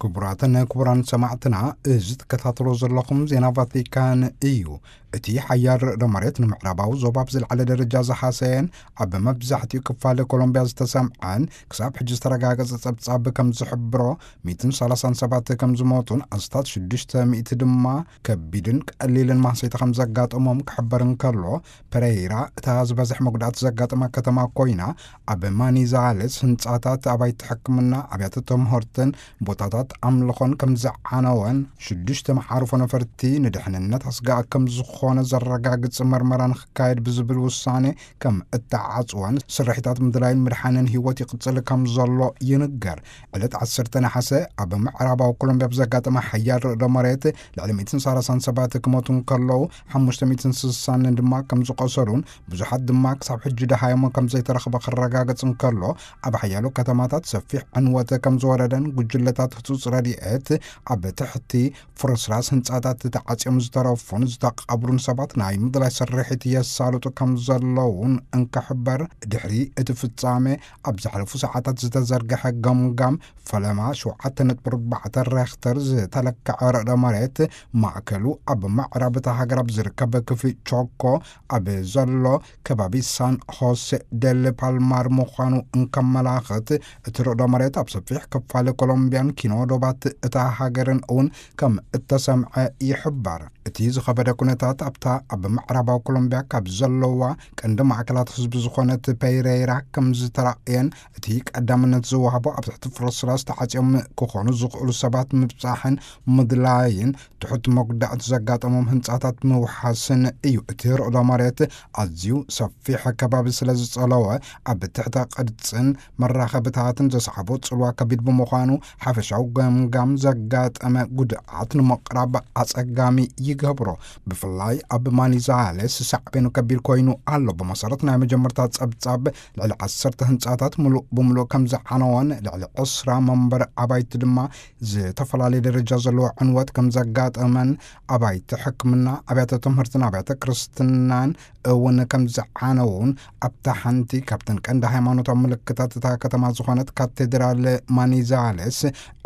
ክቡራትን ክቡራን ሰማዕትና፣ እዚ ትከታተሎ ዘለኹም ዜና ቫቲካን እዩ። እቲ ሓያል ርዕዶ መሬት ንምዕራባዊ ዞባ ብዝለዓለ ደረጃ ዝሓሰየን ኣብ መብዛሕትኡ ክፋል ኮሎምቢያ ዝተሰምዐን ክሳብ ሕጂ ዝተረጋገጸ ጸብጻብ ከም ዝሕብሮ፣ ሚእትን ሰላሳን ሰባት ከም ዝሞቱን ኣስታት ሽዱሽተ ሚእቲ ድማ ከቢድን ቀሊልን ማህሰይቲ ከም ዘጋጠሞም ክሕበር እንከሎ፣ ፐረይራ እታ ዝበዝሕ መጉዳእቲ ዘጋጠማ ከተማ ኮይና፣ ኣብ ማኒዛሌስ ህንጻታት፣ ኣባይቲ ሕክምና፣ ኣብያተ ትምህርትን ቦታታት ኣምልኾን ከም ዝዓነወን፣ ሽዱሽተ መዓርፎ ነፈርቲ ንድሕንነት ኣስጋእ ከም ዝኾነ ዘረጋግጽ መርመራ ንክካየድ ብዝብል ውሳኔ ከም እተዓጽወን፣ ስርሒታት ምድላይን ምድሓንን ህይወት ይቕጽል ከም ዘሎ ይንገር። ዕለት ዓሰርተ ነሓሰ ኣብ ምዕራባዊ ኮሎምቢያ ብዘጋጠመ ሓያል ርዕዶ መሬት ልዕሊ ሚእትን ሰላሳን ሰባት ክሞቱ እንከለዉ፣ ሓሙሽተ ሚእትን ስሳን ድማ ከም ዝቆሰሉን ብዙሓት ድማ ክሳብ ሕጂ ደሃዮም ከም ዘይተረኽበ ክረጋገጽ እንከሎ፣ ኣብ ሓያሎ ከተማታት ሰፊሕ ዕንወት ከም ዝወረደን ጉጅለታት ህጹጽ ረድኤት ኣብ ትሕቲ ፍርስራስ ህንጻታት ተዓጽዮም ዝተረፉን ዝተቐብሩን ሰባት ናይ ምድላይ ስርሒት የሳልጡ ከም ዘለዉን እንክሕበር፣ ድሕሪ እቲ ፍጻሜ ኣብ ዝሓለፉ ሰዓታት ዝተዘርግሐ ገምጋም፣ ፈለማ ሸውዓተ ነጥቢ ኣርባዕተ ሬክተር ዝተለክዐ ርዕደ መሬት ማእከሉ ኣብ ምዕራብ እታ ሃገር ኣብ ዝርከብ ክፍሊ ቾኮ ኣብ ዘሎ ከባቢ ሳን ሆሴ ደል ፓልማር ምዃኑ እንከመላኽት፣ እቲ ርዕዶ መሬት ኣብ ሰፊሕ ክፋል ኮሎምቢያን ኪኖ ዶባት እታ ሃገርን እውን ከም እተሰምዐ ይሕበር። እቲ ዝኸበደ ኩነታት ኣብታ ኣብ ምዕራባዊ ኮሎምቢያ ካብ ዘለዋ ቀንዲ ማእከላት ህዝቢ ዝኾነት ፔሬራ ከም ዝተራእየን፣ እቲ ቀዳምነት ዝወሃቦ ኣብ ትሕቲ ፍርስራስ ተዓጽዮም ክኾኑ ዝኽእሉ ሰባት ምብጻሕን ምድላይን፣ ትሑት መጉዳእቲ ዘጋጠሞም ህንጻታት ምውሓስን እዩ። እቲ ርዕዶ መሬት ኣዝዩ ሰፊሕ ከባቢ ስለ ዝጸለወ፣ ኣብ ትሕተ ቅርጽን መራኸብታትን ዘስዓቦ ጽልዋ ከቢድ ብምዃኑ፣ ሓፈሻዊ ገምጋም ዘጋጠመ ጉድኣት ንምቕራብ ኣጸጋሚ ይገብሮ። ብፍላይ ኣብ ማኒዛሌስ ሳዕቤኑ ከቢድ ኮይኑ ኣሎ። ብመሰረት ናይ መጀመርታ ጸብጻብ፣ ልዕሊ ዓሰርተ ህንጻታት ምሉእ ብምሉእ ከም ዝዓነወን፣ ልዕሊ ዕስራ መንበሪ ኣባይቲ ድማ ዝተፈላለየ ደረጃ ዘለዎ ዕንወት ከም ዘጋጠመን፣ ኣባይቲ ሕክምና፣ ኣብያተ ትምህርትን ኣብያተ ክርስትናን እውን ከም ዝዓነዉን፣ ኣብታ ሓንቲ ካብተን ቀንዲ ሃይማኖታዊ ምልክታት እታ ከተማ ዝኾነት ካቴድራል ማኒዛሌስ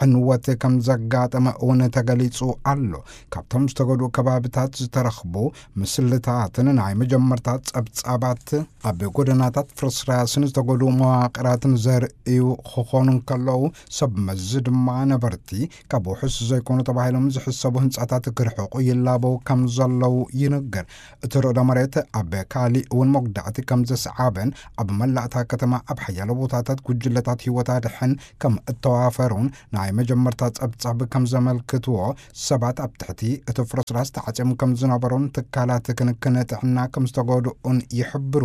ዕንወት ከም ዘጋጠመ እውን ተገሊጹ ኣሎ። ካብቶም ዝተጎድኡ ከባቢታት ዝተረኽቡ ምስልታትን ናይ መጀመርታ ጸብጻባት፣ ኣብ ጎደናታት ፍርስራስን ዝተጎድኡ መዋቕራትን ዘርእዩ ክኾኑ እንከለዉ፣ ሰብ መዚ ድማ ነበርቲ ካብ ውሑስ ዘይኮኑ ተባሂሎም ዝሕሰቡ ህንጻታት ክርሕቑ ይላበው ከም ዘለዉ ይንገር። እቲ ርዕዶ መሬት ኣብ ካሊእ እውን መጉዳእቲ ከም ዘስዓበን፣ ኣብ መላእ እታ ከተማ ኣብ ሓያሎ ቦታታት ጉጅለታት ህይወት ኣድሕን ከም እተዋፈሩን ናይ መጀመርታ ጸብጻብ ከም ዘመልክትዎ፣ ሰባት ኣብ ትሕቲ እቲ ፍርስራስ ተዓጽዮም ከም ዝነበሩን ትካላት ክንክን ጥዕና ከም ዝተጎድኡን ይሕብሩ።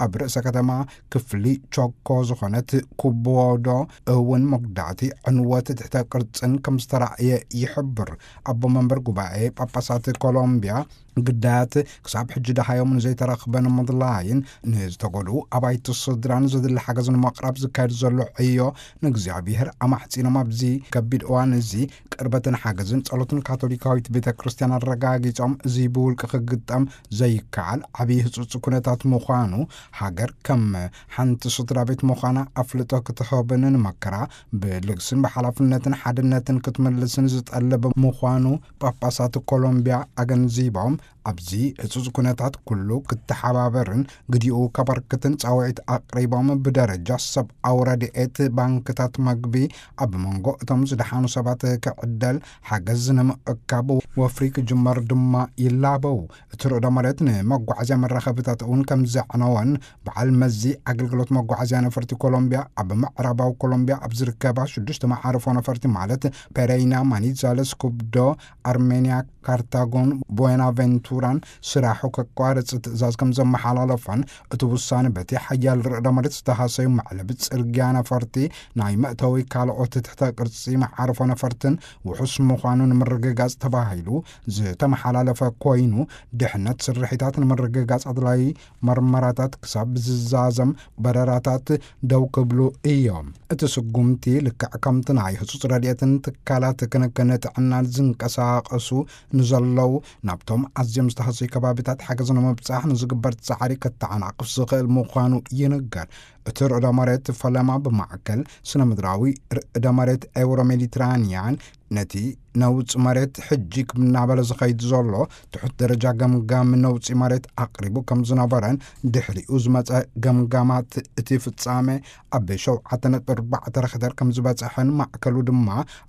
ኣብ ርእሰ ከተማ ክፍሊ ቾኮ ዝኾነት ኩቦዶ እውን መጉዳእቲ ዕንወት ትሕተ ቅርጽን ከም ዝተራእየ ይሕብር። ኣቦ መንበር ጉባኤ ጳጳሳት ኮሎምቢያ፣ ግዳያት ክሳብ ሕጂ ደሃዮም ንዘይተረኽበ ንምድላይን ንዝተጎድኡ ኣባይቲ ስድራን ዘድሊ ሓገዝ ንምቕራብ ዝካየድ ዘሎ ዕዮ ንእግዚኣብሔር ኣማሕጺኖም፣ ኣብዚ ከቢድ እዋን እዚ ቅርበትን ሓገዝን ጸሎትን ካቶሊካዊት ቤተ ክርስቲያን ኣረጋጊጾም፣ እዚ ብውልቂ ክግጠም ዘይከኣል ዓብዪ ህጹጽ ኩነታት ምዃኑ፣ ሃገር ከም ሓንቲ ስድራ ቤት ምዃና ኣፍልጦ ክትህብን ንመከራ ብልግስን ብሓላፍነትን ሓድነትን ክትምልስን ዝጠልብ ምዃኑ ጳጳሳት ኮሎምቢያ ኣገንዚቦም፣ ኣብዚ ህጹጽ ኩነታት ኩሉ ክተሓባበርን ግዲኡ ከበርክትን ጻውዒት ኣቕሪቦም፣ ብደረጃ ሰብኣዊ ረድኤት ባንክታት መግቢ ኣብ መንጎ እቶም ዝደሓኑ ሰባት ክዕደል፣ ሓገዝ ንምእካብ ወፍሪ ክጅመር ድማ ይላበው። እቲ ርዕዶ መሬት ንመጓዓዝያ መራኸብታት እውን ከም ዘዕነወን፣ በዓል መዚ ኣገልግሎት መጓዓዝያ ነፈርቲ ኮሎምቢያ ኣብ ምዕራባዊ ኮሎምቢያ ኣብ ዝርከባ ሽዱሽተ መዓርፎ ነፈርቲ ማለት ፔሬይና፣ ማኒዛለስ፣ ኩብዶ፣ ኣርሜንያ፣ ካርታጎን ቦናቬንቱራን ስራሑ ከቋርጽ ትእዛዝ ከም ዘመሓላለፈን፣ እቲ ውሳነ በቲ ሓያል ርዕዶ መሬት ዝተሃሰዩ መዕለቢ ጽርግያ ነፈርቲ፣ ናይ መእተዊ ካልኦት ትሕተ ቅርጺ መዓርፎ ነፈርትን ውሑስ ምዃኑ ንምርግጋጽ ተባሂሉ ዝተመሓላለፈ ኮይኑ፣ ድሕነት ስርሒታት ንምርግጋጽ ኣድላዪ መርመራታት ክሳብ ዝዛዘም በረራታት ደው ክብሉ እዮም። እቲ ስጉምቲ ልክዕ ከምቲ ናይ ህጹጽ ረድኤትን ትካላት ክንክን ጥዕናን ዝንቀሳቐሱ ንዘለዉ ናብቶም ኣዝዮም ዝተሃሰዩ ከባቢታት ሓገዝ ንምብጻሕ ንዝግበር ጻዕሪ ከተዓናቕፍ ዝኽእል ምዃኑ ይንገር። እቲ ርዕደ መሬት ፈለማ ብማዕከል ስነ ምድራዊ ርዕደ መሬት ኤውሮ ሜዲትራንያን ነቲ ነውጽ መሬት ሕጂ ክምናበለ ዝኸይድ ዘሎ ትሑት ደረጃ ገምጋም ነውጺ መሬት ኣቕሪቡ ከም ዝነበረን ድሕሪኡ ዝመጸ ገምጋማት እቲ ፍጻመ ኣብ ሸውዓተ ነጥቢ ኣርባዕተ ረክተር ከም ዝበጸሐን ማዕከሉ ድማ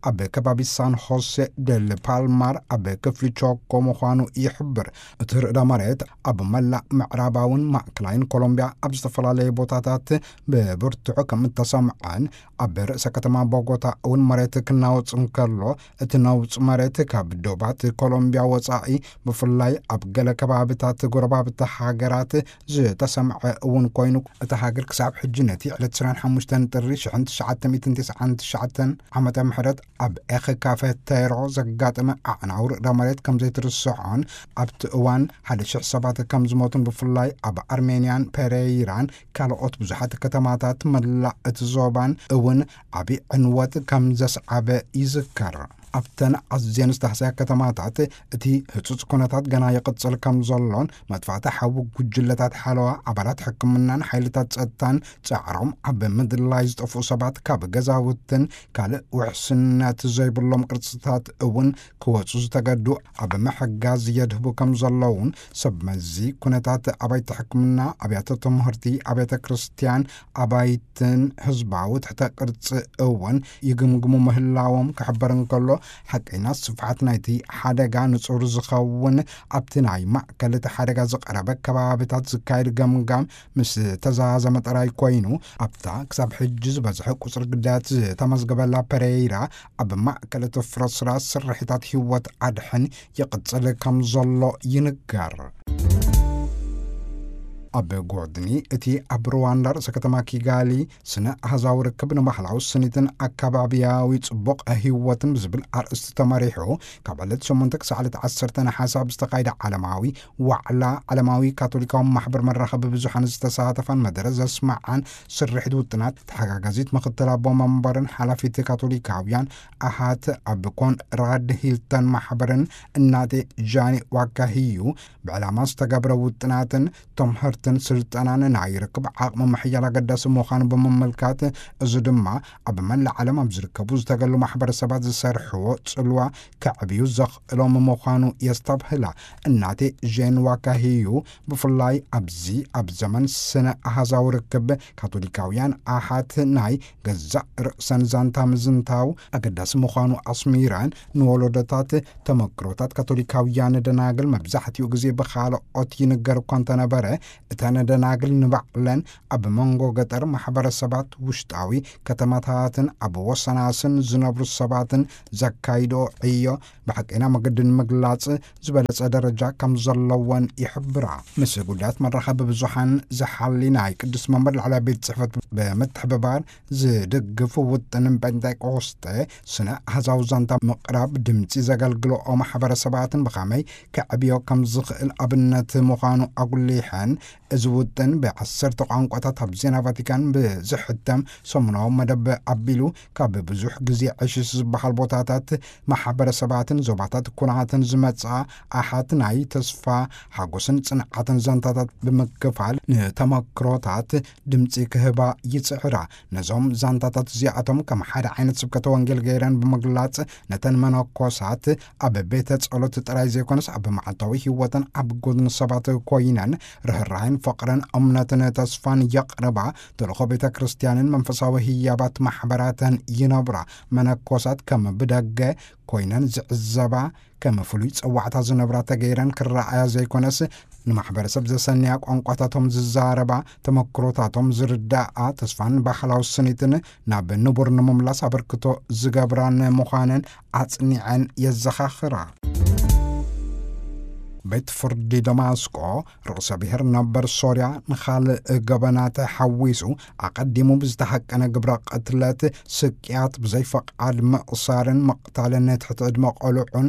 ኣብ ከባቢ ሳን ሆሴ ደል ፓልማር ኣብ ክፍሊ ቾኮ ምዃኑ ይሕብር። እቲ ርዕደ መሬት ኣብ መላእ ምዕራባውን ማእከላይን ኮሎምቢያ ኣብ ዝተፈላለዩ ቦታታት ብብርቱዕ ከም እተሰምዐን ኣብ ርእሰ ከተማ ቦጎታ እውን መሬት ክናወጽ እንከሎ እቲ ነውጽ መሬት ካብ ዶባት ኮሎምቢያ ወጻኢ ብፍላይ ኣብ ገለ ከባብታት ጎረባብቲ ሃገራት ዝተሰምዐ እውን ኮይኑ እታ ሃገር ክሳብ ሕጂ ነቲ ዕለት ዕስራን ሓሙሽተን ጥሪ ሽሕን ትሽዓተ ሚእትን ተስዓን ትሽዓተን ዓመተ ምሕረት ኣብ ኤኸ ካፌቴሮ ዘጋጠመ ኣዕናዊ ርዕደ መሬት ከም ዘይትርስዖን ኣብቲ እዋን ሓደ ሽሕ ሰባት ከም ዝሞቱን ብፍላይ ኣብ ኣርሜንያን ፔሬይራን ካልኦት ብዙሓት ከተማታት መላእ እቲ ዞባን እውን ዓቢ ዕንወት ከም ዘስዓበ ይዝከር። ኣብተን ኣዝየን ዝተህሰያ ከተማታት እቲ ህጹጽ ኩነታት ገና ይቕጽል ከም ዘሎን መጥፋእቲ ሓዊ ጉጅለታት ሓለዋ ኣባላት ሕክምናን ሓይልታት ጸጥታን ጻዕሮም ኣብ ምድላይ ዝጠፍኡ ሰባት ካብ ገዛውትን ካልእ ውሕስነት ዘይብሎም ቅርጽታት እውን ክወጹ ዝተገዱ ኣብ ምሕጋዝ የድህቡ ከም ዘለውን ሰብ መዚ ኩነታት ኣባይቲ ሕክምና ኣብያተ ትምህርቲ ኣብያተ ክርስትያን ኣባይትን ህዝባዊ ትሕተ ቅርጺ እውን ይግምግሙ ምህላዎም ክሕበር እንከሎ ሓቀይና ስፍሓት ናይቲ ሓደጋ ንጹር ዝኸውን ኣብቲ ናይ ማእከል እቲ ሓደጋ ዝቐረበ ከባብታት ዝካየድ ገምጋም ምስ ተዛዘመ ጥራይ ኮይኑ ኣብታ ክሳብ ሕጂ ዝበዝሐ ቁጽሪ ግዳያት ዝተመዝገበላ ፐሬይራ ኣብ ማእከል እቲ ፍርስራስ ስርሒታት ህይወት ኣድሕን ይቕጽል ከም ዘሎ ይንገር። ኣብ ጎድኒ እቲ ኣብ ሩዋንዳ ርእሰ ከተማ ኪጋሊ ስነ ኣህዛዊ ርክብ ንባህላዊ ስኒትን ኣካባቢያዊ ጽቡቕ ህይወትን ብዝብል ኣርእስቲ ተመሪሑ ካብ ዕለት ሸሞንተ ክሳዕ ዕለት ዓሰርተ ነሓሰ ኣብ ዝተኻየደ ዓለማዊ ዋዕላ ዓለማዊ ካቶሊካዊ ማሕበር መራኸቢ ብዙሓን ዝተሳተፋን መደረ ዘስማዓን ስርሒት ውጥናት ተሓጋጋዚት ምኽትል ኣቦ መንበርን ሓላፊት ካቶሊካውያን ኣሃት ኣብ ኮንራድ ሂልተን ማሕበርን እናቴ ጃኒ ዋካሂዩ ብዕላማ ዝተገብረ ውጥናትን ትምህርትን ስልጠናን ናይ ርክብ ዓቕሚ ምሕያል ኣገዳሲ ምዃኑ ብምምልካት፣ እዚ ድማ ኣብ መላእ ዓለም ኣብ ዝርከቡ ዝተገሉ ማሕበረሰባት ዝሰርሕዎ ጽልዋ ከዕብዩ ዘኽእሎም ምዃኑ የስተብህላ። እናቴ ጄን ዋካሂዩ ብፍላይ ኣብዚ ኣብ ዘመን ስነ ኣሃዛዊ ርክብ ካቶሊካውያን ኣሓት ናይ ገዛእ ርእሰን ዛንታ ምዝንታው ኣገዳሲ ምዃኑ ኣስሚረን፣ ንወለዶታት ተመክሮታት ካቶሊካውያን ደናግል መብዛሕትኡ ግዜ ብኻልኦት ይንገር እኳ እንተነበረ፣ እተን ደናግል ንባዕለን ኣብ መንጎ ገጠር ማሕበረሰባት፣ ውሽጣዊ ከተማታትን ኣብ ወሰናስን ዝነብሩ ሰባትን ዘካይድኦ ዕዮ ብሓቀይና መገዲ ንምግላጽ ዝበለጸ ደረጃ ከም ዘለወን ይሕብራ። ምስ ጉዳያት መራኸቢ ብዙሓን ዝሓሊ ናይ ቅዱስ መንበር ላዕላይ ቤት ጽሕፈት ብምትሕብባር ዝድግፍ ውጥንን ጴንጤቆስጠ ስነ ኣህዛዊ ዛንታ ምቕራብ ድምፂ ዘገልግልኦ ማሕበረሰባትን ብኸመይ ከዕብዮ ከም ዝኽእል ኣብነት ምዃኑ ኣጉሊሐን፣ እዚ ውጥን ብዓሰርተ ቋንቋታት ኣብ ዜና ቫቲካን ብዝሕተም ሰሙናዊ መደብ ኣቢሉ፣ ካብ ብዙሕ ግዜ ዕሽሽ ዝበሃል ቦታታት፣ ማሕበረሰባትን ዞባታት ኩናትን ዝመጽኣ ኣሓት ናይ ተስፋ ሓጎስን ጽንዓትን ዛንታታት ብምክፋል፣ ንተመክሮታት ድምጺ ክህባ ይጽዕራ። ነዞም ዛንታታት እዚኣቶም ከም ሓደ ዓይነት ስብከተ ወንጌል ገይረን ብምግላጽ፣ ነተን መነኮሳት ኣብ ቤተ ጸሎት ጥራይ ዘይኮነስ፣ ኣብ መዓልታዊ ህይወተን ኣብ ጎድኒ ሰባት ኮይነን ርህራሄን ፍቕርን እምነትን ተስፋን የቕርባ። ተልእኾ ቤተ ክርስቲያንን መንፈሳዊ ህያባት ማሕበራተን ይነብራ። መነኮሳት ከም ብደገ ኮይነን ዝዕዘባ፣ ከም ፍሉይ ጸዋዕታ ዝነብራ ተገይረን ክረኣያ ዘይኮነስ፣ ንማሕበረሰብ ዘሰንያ፣ ቋንቋታቶም ዝዛረባ፣ ተመክሮታቶም ዝርዳኣ፣ ተስፋን ባህላዊ ስኒትን ናብ ንቡር ንምምላስ ኣበርክቶ ዝገብራን ምዃነን ኣጽኒዐን የዘኻኽራ። ቤት ፍርዲ ደማስቆ፣ ርእሰ ብሔር ነበር ሶርያ ንኻልእ ገበናት ሓዊሱ ኣቐዲሙ ብዝተሃቀነ ግብረ ቅትለት፣ ስቅያት፣ ብዘይፈቓድ ምእሳርን ምቕታልን ትሕቲ ዕድመ ቆልዑን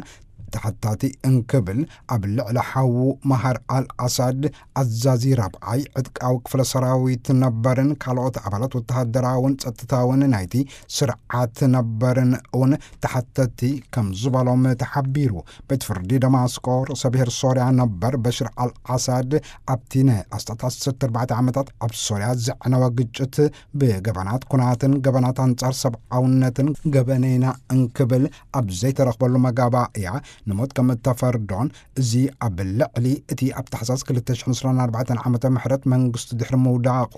ተሓታቲ እንክብል ኣብ ልዕሊ ሓዉ መሃር ኣልኣሳድ ኣዛዚ ራብዓይ ዕጥቃዊ ክፍለ ሰራዊት ነበርን ካልኦት ኣባላት ወተሃደራውን ጸጥታውን ናይቲ ስርዓት ነበርን እውን ተሓተቲ ከም ዝበሎም ተሓቢሩ። ቤት ፍርዲ ደማስቆ ርእሰ ብሔር ሶርያ ነበር በሽር ኣልኣሳድ ኣብቲ ናይ ኣስታት ዓሰርተ ኣርባዕተ ዓመታት ኣብ ሶርያ ዘዕነወ ግጭት ብገበናት ኩናትን ገበናት ኣንጻር ሰብኣውነትን ገበነይና እንክብል ኣብ ዘይተረኽበሉ መጋባእያ ንሞት ከም እተፈርዶን፣ እዚ ኣብ ልዕሊ እቲ ኣብ ታሕሳስ ክልተ ሽሕን ዕስራን ኣርባዕተን ዓመተ ምሕረት መንግስቱ ድሕሪ ምውዳቑ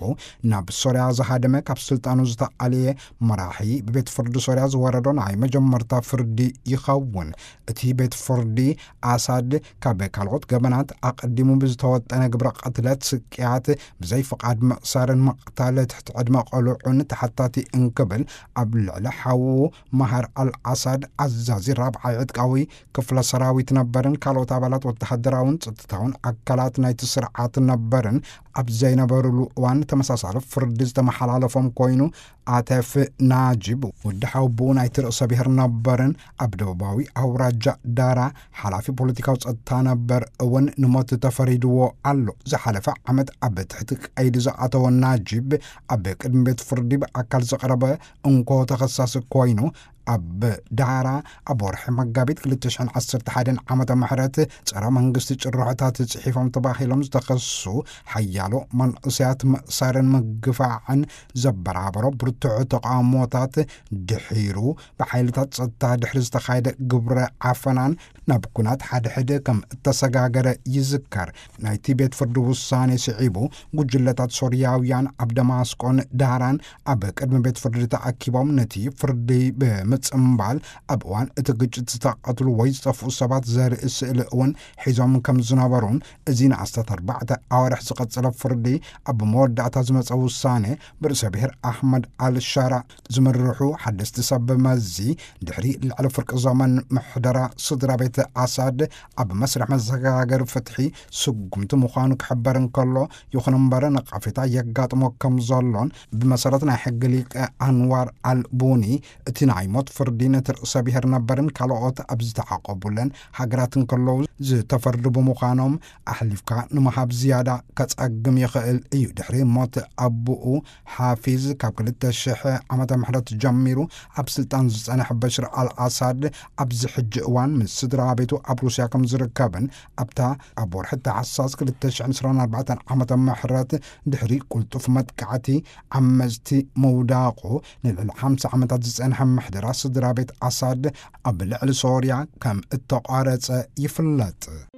ናብ ሶርያ ዝሃደመ ካብ ስልጣኑ ዝተኣልየ መራሒ ብቤት ፍርዲ ሶርያ ዝወረዶ ናይ መጀመርታ ፍርዲ ይኸውን። እቲ ቤት ፍርዲ ኣሳድ ካብ ካልኦት ገበናት ኣቐዲሙ ብዝተወጠነ ግብረ ቅትለት፣ ስቅያት፣ ብዘይ ፍቓድ ምእሳርን ምቕታል ትሕቲ ዕድመ ቆልዑን ተሓታቲ እንክብል ኣብ ልዕሊ ሓዉ መሃር ኣልኣሳድ ኣዛዚ ራብዓይ ዕጥቃዊ ክፍለ ሰራዊት ነበርን ካልኦት ኣባላት ወተሃደራውን ጸጥታውን ኣካላት ናይቲ ስርዓት ነበርን ኣብ ዘይነበሩሉ እዋን ተመሳሳሊ ፍርዲ ዝተመሓላለፎም ኮይኑ፣ ኣተፍ ናጂብ ወዲ ሓውቦኡ ናይቲ ርእሰ ብሔር ነበርን ኣብ ደቡባዊ ኣውራጃ ዳራ ሓላፊ ፖለቲካዊ ጸጥታ ነበር እውን ንሞት ተፈሪድዎ ኣሎ። ዝሓለፈ ዓመት ኣብ ትሕቲ ቀይዲ ዝኣተወ ናጂብ ኣብ ቅድሚ ቤት ፍርዲ ብኣካል ዝቐረበ እንኮ ተኸሳሲ ኮይኑ፣ ኣብ ዳራ ኣብ ወርሒ መጋቢት ክልተ ሽሕን ዓሰርተ ሓደን ዓመተ ምሕረት ጸረ መንግስቲ ጭርሖታት ጽሒፎም ተባሂሎም ዝተኸሱ ሓያሎ መንእሰያት ምእሳርን ምግፋዕን ዘበራበሮ ብርቱዕ ተቃውሞታት ድሒሩ ብሓይልታት ጸጥታ ድሕሪ ዝተኻየደ ግብረ ዓፈናን ናብ ኩናት ሓድሕድ ከም እተሰጋገረ ይዝከር። ናይቲ ቤት ፍርዲ ውሳኔ ስዒቡ፣ ጉጅለታት ሶርያውያን ኣብ ደማስቆን ዳራን ኣብ ቅድሚ ቤት ፍርዲ ተኣኪቦም ነቲ ፍርዲ ብምጽምባል፣ ኣብ እዋን እቲ ግጭት ዝተቐትሉ ወይ ዝጠፍኡ ሰባት ዘርኢ ስእሊ እውን ሒዞም ከም ዝነበሩን፣ እዚ ንኣስታት ኣርባዕተ ኣዋርሕ ዝቐጸለ ፍርዲ ኣብ መወዳእታ ዝመጸ ውሳኔ ብርእሰ ብሔር ኣሕመድ ኣልሻራ ዝምርሑ ሓደስቲ ሰብ መዚ ድሕሪ ልዕሊ ፍርቂ ዘመን ምሕደራ ስድራ ቤት ኣሳድ ኣብ መስርሕ መሰጋገሪ ፍትሒ ስጉምቲ ምዃኑ ክሕበር እንከሎ፣ ይኹን እምበር ነቃፌታ የጋጥሞ ከም ዘሎን፣ ብመሰረት ናይ ሕጊ ሊቀ ኣንዋር ኣልቡኒ፣ እቲ ናይ ሞት ፍርዲ ነቲ ርእሰ ብሔር ነበርን ካልኦት ኣብ ዝተዓቆቡለን ሃገራት እንከለዉ ዝተፈርዱ ብምዃኖም፣ ኣሕሊፍካ ንምሃብ ዝያዳ ከጸግም ይኽእል እዩ። ድሕሪ ሞት ኣቦኡ ሓፊዝ ካብ ክልተ ሽሕ ዓመተ ምሕረት ጀሚሩ ኣብ ስልጣን ዝጸንሐ በሽር ኣልኣሳድ ኣብዚ ሕጂ እዋን ምስ ስድራ ቤቱ ኣብ ሩስያ ከም ዝርከብን ኣብታ ኣብ ወርሒ ታሕሳስ ክልተ ሽሕን ዕስራን ኣርባዕተን ዓመተ ምሕረት ድሕሪ ቅልጡፍ መጥቃዕቲ ዓመጽቲ ምውዳቑ ንልዕሊ ሓምሳ ዓመታት ዝጸንሐ ምሕደራ ስድራ ቤት ኣሳድ ኣብ ልዕሊ ሶርያ ከም እተቋረጸ ይፍለጥ።